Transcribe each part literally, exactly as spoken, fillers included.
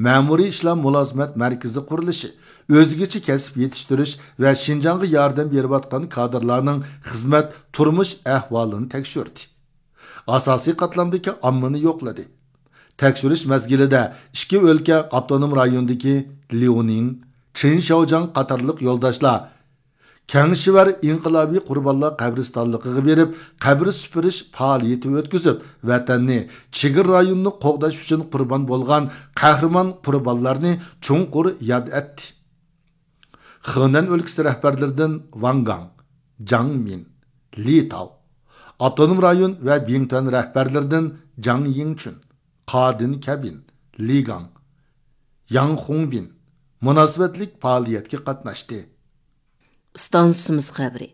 مەمۇرىي ئىشلار مۇلازىمەت مەركىزى قۇرۇلۇشى، ئۆزگىچە كەسىپ يېتىشتۈرۈش ۋە شىنجاڭغا ياردەم بېرىۋاتقان كادىرلارنىڭ خىزمەت، تۇرمۇش ئەھۋالىنى تەكشۈردى. ئاساسىي قاتلامدىكى ئاممىنى يوقلىدى. تەكشۈرۈش مەزگىلىدە ئىككى ئۆلكە ئاپتونوم رايونىدىكى ليۇنىڭ، چېن شياۋجياڭ قاتارلىق يولداشلار كەڭشىۋەر ئىنقىلابىي قۇربانلار قەبرىستانلىقىغا بېرىپ، قەبرە سۈپۈرۈش پائالىيىتى ئۆتكۈزۈپ، ۋەتەننى، چېگرا رايونىنى قوغداش ئۈچۈن قۇربان بولغان قەھرىمان قۇربانلارنى چوڭقۇر ياد ئەتتى. خېنەن ئۆلكىسى رەھبەرلىرىدىن ۋاڭ گاڭ، جاڭ مىن، لى تاۋ، ئاپتونوم رايون ۋە بىڭتۈەن رەھبەرلىرىدىن جاڭ يىڭچۈن، قادىن كەبىن، لى گاڭ، ياڭ خۇڭبىن مۇناسىۋەتلىك پائالىيەتكە قاتناشتى. ئىستانسىمىز خەۋىرى.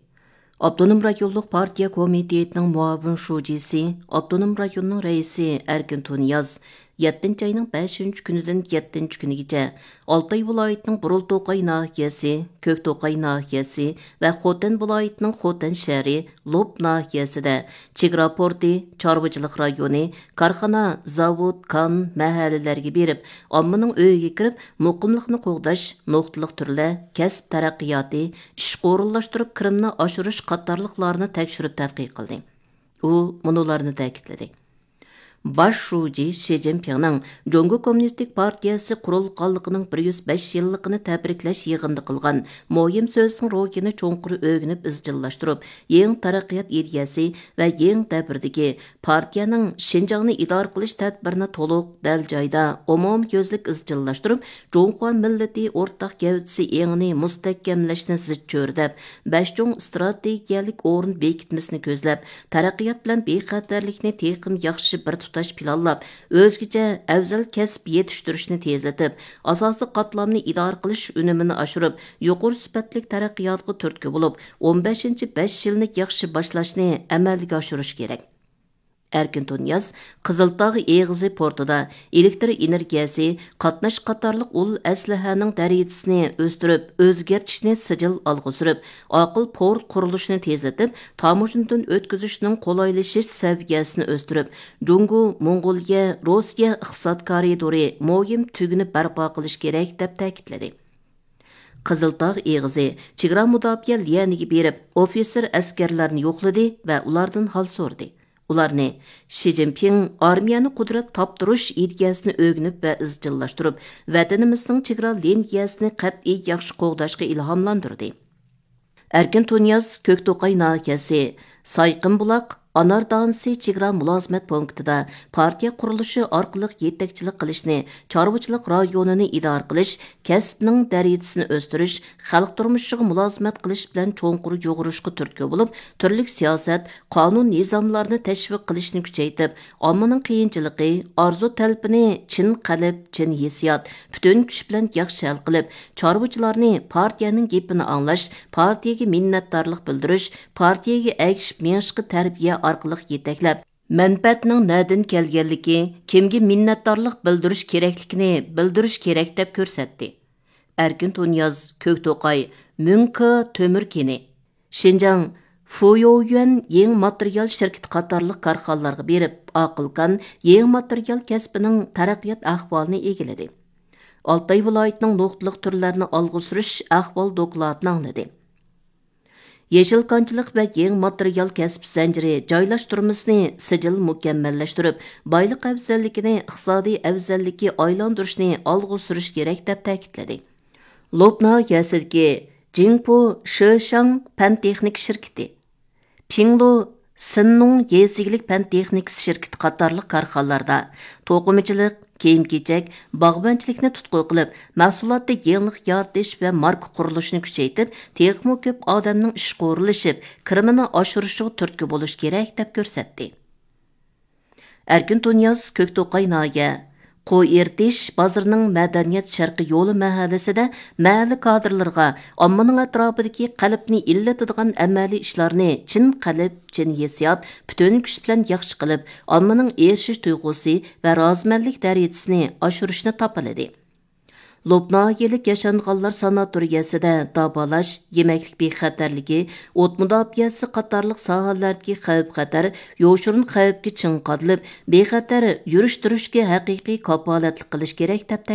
ئاپتونوم رايونلۇق پارتىيە كومىتېتىنىڭ مۇئاۋىن شۇجىسى، ئاپتونوم رايوننىڭ رەئىسى ئەركىن تۇنىياز يەتتىنچى ئاينىڭ بەشىنچى كۈنىدىن يەتتىنچى كۈنىگىچە ئالتاي ۋىلايىتىنىڭ بۇرۇلتوقاي ناھىيەسى، كۆكتوقاي ناھىيەسى ۋە خوتەن ۋىلايىتىنىڭ خوتەن شەھىرى، لوپ ناھىيەسىدە چېگرا پورتى، چارۋىچىلىق رايونى، كارخانا، زاۋۇت، كان، مەھەللىلەرگە بېرىپ، ئاممىنىڭ ئۆيىگە كىرىپ، مۇقىملىقنى قوغداش، نۇقتىلىق تۈرلەر، كەسىپ تەرەققىياتى، ئىشقا ئورۇنلاشتۇرۇپ كىرىمنى ئاشۇرۇش قاتارلىقلارنى تەكشۈرۈپ تەتقىق قىلدى. ئۇ مۇنۇلارنى تەكىتلىدى. باش شۇجى شى جىنپىڭنىڭ جۇڭگو كوممۇنىستىك پارتىيەسى قۇرۇلغانلىقىنىڭ بىر يۈز بەش يىللىقىنى تەبرىكلەش يىغىنىدا قىلغان مۇھىم سۆزىنىڭ روھىنى چوڭقۇر ئۆگىنىپ ئىزچىللاشتۇرۇپ، يېڭى تەرەققىيات ئىدىيەسى ۋە يېڭى دەۋردىكى پارتىيەنىڭ شىنجاڭنى ئىدارە قىلىش تەدبىرىنى تولۇق، دەل جايدا، ئومۇميۈزلۈك ئىزچىللاشتۇرۇپ، جۇڭخۇا مىللىتى ئورتاق گەۋدىسى ئېڭىنى مۇستەھكەملەشنى زىچ چۆرىدەپ، بەش چوڭ ئىستراتېگىيەلىك ئورۇن بېكىتمىسىنى كۆزلەپ، تەرەققىيات بىلەن بىخەتەرلىكنى تېخىمۇ ياخشى بىر تۇتاش پىلانلاپ، ئۆزگىچە ئەۋزەل كەسىپ يېتىشتۈرۈشنى تېزلىتىپ، ئاساسىي قاتلامنى ئىدارە قىلىش ئۈنۈمىنى ئاشۇرۇپ، يۇقىرى سۈپەتلىك تەرەققىياتقا تۈرتكە بولۇپ، ئون بەشىنچى بەش يىلنى ياخشى باشلاشنى ئەمەلگە ئاشۇرۇش كېرەك. ئەركىن تۇنىياز قىزىلتاغ ئېغىزى پورتىدا ئېلېكتر ئېنېرگىيەسى، قاتناش قاتارلىق ئۇل ئەسلىھەنىڭ دەرىجىسىنى ئۆستۈرۈپ، ئۆزگەرتىشنى سىجىل ئالغا سۈرۈپ، ئاقىل پورت قۇرۇلۇشىنى تېزلىتىپ، تاموژنىدىن ئۆتكۈزۈشنىڭ قولايلىشىش سەۋىيەسىنى ئۆستۈرۈپ، جۇڭگو، موڭغۇلىيە، روسىيە ئىقتىساد كارىدورى مۇھىم تۈگۈنى بەرپا قىلىش كېرەك، دەپ تەكىتلىدى. قىزىلتاغ ئېغىزى چېگرا مۇداپىئە ليەنىگە بېرىپ، ئوفىتسېر ئەسكەرلەرنى يوقلىدى ۋە ئۇلاردىن ھال سورىدى. ئۇلارنى شى جىنپىڭ ئارمىيەنى قۇدرەت تاپتۇرۇش ئىدىيەسىنى ئۆگىنىپ ۋە ئىزچىللاشتۇرۇپ، ۋەتىنىمىزنىڭ چېگرا لىنىيەسىنى قەتئىي ياخشى قوغداشقا ئىلھاملاندۇردى. ئەركىن تۇنىياز كۆكتوقاي ناھىيەسى سايقىمبۇلاق ئانار دانىسى چېگرا مۇلازىمەت پونكىتىدا پارتىيە قۇرۇلۇشى ئارقىلىق يېتەكچىلىك قىلىشنى، چارۋىچىلىق رايونىنى ئىدارە قىلىش، كەسىپنىڭ دەرىجىسىنى ئۆستۈرۈش، خەلق تۇرمۇشىغا مۇلازىمەت قىلىش بىلەن چوڭقۇر يۇغۇرۇشقا تۈرتكە بولۇپ، تۈرلۈك سىياسەت، قانۇن نىزاملارنى تەشۋىق قىلىشنى كۈچەيتىپ، ئاممىنىڭ قىيىنچىلىقى، ئارزۇ تەلىپىنى چىن قەلب، چىن ھېسسىيات، پۈتۈن كۈچ بىلەن ياخشى ھەل قىلىپ، چارۋىچىلارنى پارتىيەنىڭ گېپىنى ئاڭلاش، پارتىيەگە مىننەتدارلىق بىلدۈرۈش، پارتىيەگە ئەگىشىپ مېڭىشقا تەربىيە ئارقىلىق يېتەكلەپ، مەنپەئەتنىڭ نەدىن كەلگەنلىكى، كىمگە مىننەتدارلىق بىلدۈرۈش كېرەكلىكىنى بىلدۈرۈش كېرەك، دەپ كۆرسەتتى. ئەركىن تۇنىياز، كۆكتوقاي، مۈڭكې تۆمۈر كېنى، شىنجاڭ فۇيويۈەن يېڭى ماتېرىيال شىركىتى قاتارلىق كارخانىلارغا بېرىپ، ئاقىل كان يېڭى ماتېرىيال كەسپىنىڭ تەرەققىيات ئەھۋالىنى ئىگىلىدى. ئالتاي ۋىلايىتىنىڭ نۇقتىلىق تۈرلەرنى ئالغا سۈرۈش ئەھۋال دوكلاتىنى ئاڭلىدى. يېشىل كانچىلىق ۋە يېڭى ماتېرىيال كەسىپ زەنجىرى جايلاشتۇرمىسىنى سىجىل مۇكەممەللەشتۈرۈپ، بايلىق ئەۋزەللىكىنى ئىقتىسادىي ئەۋزەللىككە ئايلاندۇرۇشنى ئالغا سۈرۈش كېرەك، دەپ تەكىتلىدى. لوپ ناھىيەسىدىكى جىڭپۇ شۆشاڭ پەن تېخنىكا شىركىتى، پىڭلۇ سىننۇڭ يېزا ئىگىلىك پەن تېخنىكىسى شىركىتى قاتارلىق كارخانىلاردا توقۇمىچىلىق، كىيىم-كېچەك، باغۋەنچىلىكنى تۇتقا قىلىپ، مەھسۇلاتتا يېڭىلىق يارىتىش ۋە ماركا قۇرۇلۇشىنى كۈچەيتىپ، تېخىمۇ كۆپ ئادەمنىڭ ئىشقا ئورۇنلىشىپ، كىرىمىنى ئاشۇرۇشىغا تۈرتكە بولۇش كېرەك، دەپ كۆرسەتتى. ئەركىن تۇنىياز، كۆكتوقاي ناھىيە، قوي ئېرتىش بازىرىنىڭ مەدەنىيەت شەرقىي يولى مەھەللىسىدە مەھەللە كادىرلىرىغا ئاممىنىڭ ئەتراپىدىكى قەلبنى ئىللىتىدىغان ئەمەلىي ئىشلارنى چىن قەلب، چىن ھېسسىيات، پۈتۈن كۈچ بىلەن ياخشى قىلىپ، ئاممىنىڭ ئېرىشىش تۇيغۇسى ۋە رازىمەنلىك دەرىجىسىنى ئاشۇرۇشنى تاپىلىدى. لوپ ناھىيەلىك ياشانغانلار ساناتورىيەسىدە داۋالاش، يېمەكلىك بىخەتەرلىكى، ئوت مۇداپىئەسى قاتارلىق ساھەلەردىكى خەۋپ-خەتەر يوشۇرۇن خەۋپكە چىڭ قادىلىپ، بىخەتەر يۈرۈش-تۇرۇشقا ھەقىقىي كاپالەتلىك قىلىش كېرەك، دەپ